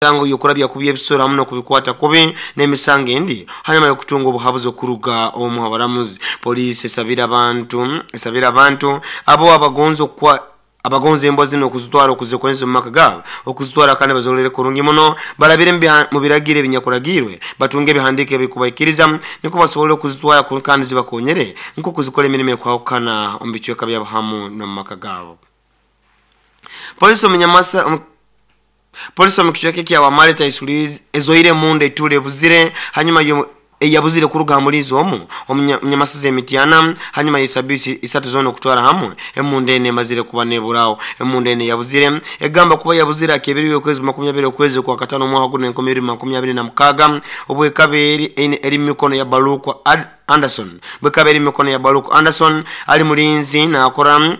Emisango y'okurabya kubi ebisoro hamu n'okubikwata kubi n'emisango endi hanyuma y'okutunga obuhabuzi okuruga omu habaramuzi. Poliisi esabire abantu esabire abantu abo abagonza okukwa abagonza embwa zinu okuzitwara okuzikozesa omu maka gaabo okuzitwara kandi bazirolere kurungi muno barabire mu biragiro ebinyakuragiirwe batunge ebihandiiko ebikubaikiriza nukwo basobole okuzitwara kandi zibakonyere nk'okuzikora emirimo ekwahukana omu bicweka byabo hamu n'omu maka gaabo. Poliisi omu Nyamasa Polisi omu kicweka ekya Wamale Taisulizi ezoire emundu etuura ebuzire hanyuma eyabuzire kuruga ha mulinzi omu omu Nyamasiza e Mityana hanyuma y'esabiiti isatu zoona okutwara hamwe emundu enu emazire kuba neburaho. Emundu enu eyabuzire egamba kuba yabuzire aha kebiri y'okwezi 20 okwezi okwakatano omwaka gunu 2026 obwekaba eri mumikono ya Baluku Anderson bwekaba eri mumikono ya Baluku Anderson ali mulinzi nakora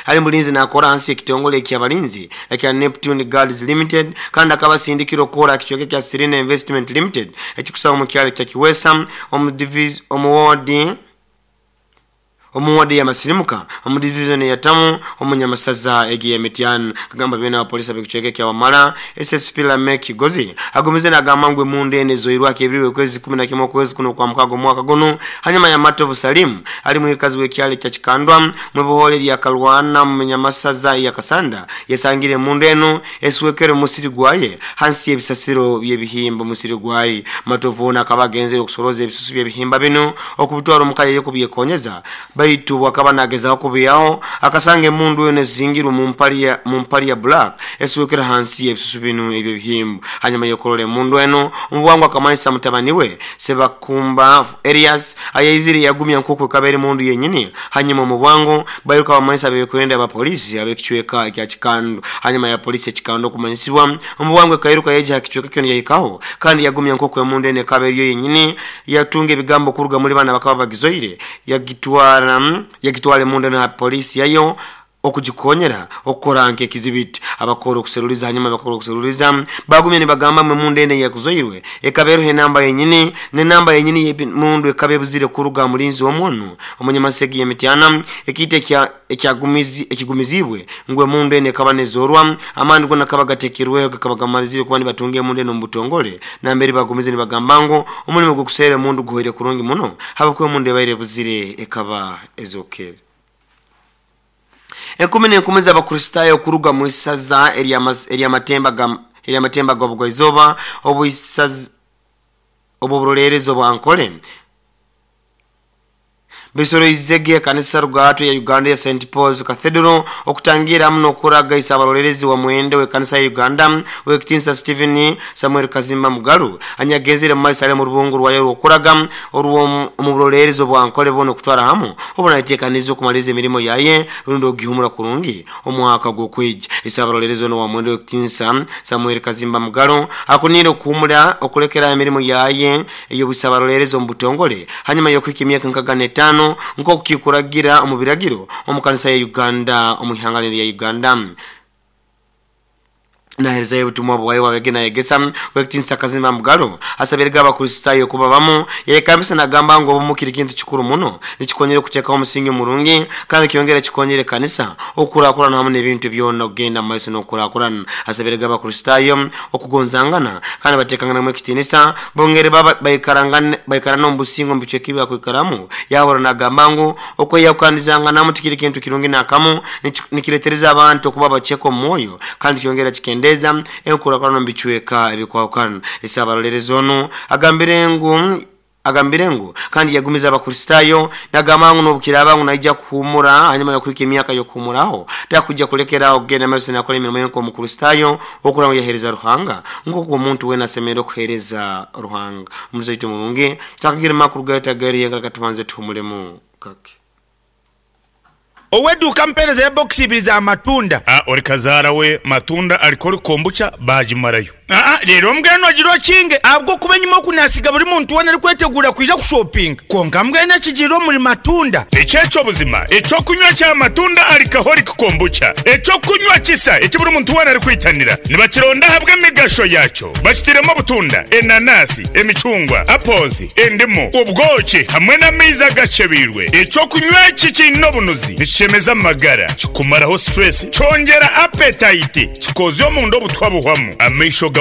Ali mulinzi naakora hansi y'ekitongole eky'abalinzi ekya Neptune Guards Limited kandi akaba asindikirwe okukora aha kicweka ekya Serena Investment Limited ekikusangwa omu kyaro ekya Kiwesa omu woodi omu woodi eya Masirimuka omu divizoni eya Tamu omu Nyamasaza egi eya Mityana. Kagamba byona abapolisi ab'ekicweka ekya Wamala, SSP Lameck Kigozi agumize nagamba ngu emundu enu ezoirwe aha kebirwe okwezi 11 okwezi kuno okwamukaaga omwaka gunu hanyuma ya Matovu Salim ali mwikazi w'ekyaro ekya Kikandwa Mwibohole lya Kalwana mu Nyamasaza eya Kasanda yasangire emundu enu eswekerwe mu musiri gwaye hansi y'ebisasiro by'ebihimba omusiri gwaye. Matovu onu akaba agenzere okusoroza ebisusu by'ebihimba binu okubitwara omuka yaye kubyekonyeza baitu obwakaba nagezaho kubihaho akasanga emundu enu ezingirwe mu mpali ya black eswekerwe hansi y'ebisusu binu eby'ebihimba. Hanyuma y'okurora emundu enu omu bwangu akamanyisa mutabani we Sebakumba Erias ayaizire yagumya nk'oku ekaba eri mundu yenyini. Hanyuma omu bwangu bairuka bamanyisa ab'ebyokwerinda aba poliisi ab'ekicweka ekya Kikando. Hanyuma ya poliisi ya Kikando okumanyisibwa, omu bwangu ekairuka yaija ha kicweka kyona yahikaho kandi yagumya nk'oku emundu enu ekaba eriyo yenyini. Yatunga ebigambo kuruga muli banu abakaba bagizoire yagitwara yagitwara emundu enu ha poliisi yayo okugikonyera okukora nk'ekizibiti. Abakora okuseruliza hanyuma bakora okuseruliza bagumya nibagamba ngu emundu enu eyakuzoirwe ekaba eroho enamba yenyini n'enamba yenyini y'emundu ekaba ebuzire kuruga ha mulinzi omu onu omunyamasegi ya Mityana ekiita ekigumiziibwe ngu emundu enu ekaba nezorwa amaani gona gakaba gatekirweho gakaba gamalizire kuba nibatunga emundu enu omu butongole nambere bagumize nibagamba ngu omulimo gw'okuserra emundu guhoire kurungi muno habwokuba emundu ebaire ebuzire ekaba ezokere. Enkumi n'enkumi z'Abakristaayo kuruga mu isaza ery'amatemba g'obugwaizooba obw'oburoleerezi obwa Ankole besoroizege ekanisa rugato ya Uganda eya St Paul's Cathedral okutangiira hamu n'okuraga Isaabaroleerezi wa Mwenda ow'ekanisa ya Uganda Ow'ekitinisa Stephen Samuel Kazimba Mugalu anyagenzere mu maiso ali mu rubungo rwayo orw'okuraga orw'omu buroleerezi obwa Ankole boona okutwara hamu obu nayeteekaniza okumaliriza emirimo yaye rundi okugihumura kurungi omwaka ogw'okwija. Isaabaroleerezi onu owa Mwenda Ow'ekitinisa Samuel Kazimba Mugalu akuniire okuhumura okulekeraho emirimo yaye ey'obwisabaroleerezi omu butongole hanyuma y'okuhika emyaka nkaga n'etaano nk'oku kikuragira omu biragiro omu kanisa ya Uganda omu ihanga linu erya Uganda. Naherezayo obutumwa bwaye obwabege nayegesa, Ow'ekitinisa Kazimba Mugalu asabirege Abakristaayo kuba bamu, yayekambisa nagamba ngu obumu kiri kintu kikuru muno, nikikonyera okuteekaho omusingi omurungi kandi kyongera kikonyera ekanisa okukurakurana hamu n'ebintu byona okugenda mu maiso n'okukurakurana. Asabirege Abakristaayo okugonzangana kandi bateekanganamu ekitiinisa, bongere baikarane omu businge omu bicweka ebi bakwikaramu. Yahurra nagamba ngu okweyahukanizanganamu tikiri kintu kirungi nakamu, nikiretereza abantu okuba abaceke omu mwoyo kandi kyongera kikendeeza enkurakurana omu bicweka ebikwahukana. Isaabaroleerezi onu agambire ngu Agambire ngu kandi yagumize Abakristaayo nagamba ngu n'obukiraaba ngu naija kuhuumura hanyuma y'okuhika emyaka y'okuhuumuraho, takwija kulekera aho kugenda maiso nakora emirimo ye nk'Omukristaayo okurora ngu yaheereza Ruhanga nk'oku omuntu weena asemeriire kuheereza Ruhanga. Omulizi waitu omurungi, tutakagiire mu makuru gaitu ag'erihenga leka tubanze tuhumulemu kake. Ow'eduuka mpeereza ye bokisi ibiri za matunda. A Ori kazaara we matunda alcoholic kombucha baagimarayo. Aa Reero mbwenu ogira okinge ahabw'okuba enyima oku naasiga buri muntu weena arikweteguura kwija kushopinga. Kwonka mbwenu ekigiire omuri matunda. Eki eky'obuzima, eky'okunywa kya matunda alcoholic kombucha, eky'okunywa kisa eki buri muntu weena arikwitanira. Nibakironda ahabw'emigasho yaakyo. Bakitiremu obutunda, enanasi, emicungwa, apples, endimu, obwoki hamwe n'amaizi agacebeirwe. Eky'okunywa eki kiine obunuzi, nikishemeza amagara, kikumaraho stress, kyongyera appetite, kikoozya omunda obutwa buhwamu, amaisho.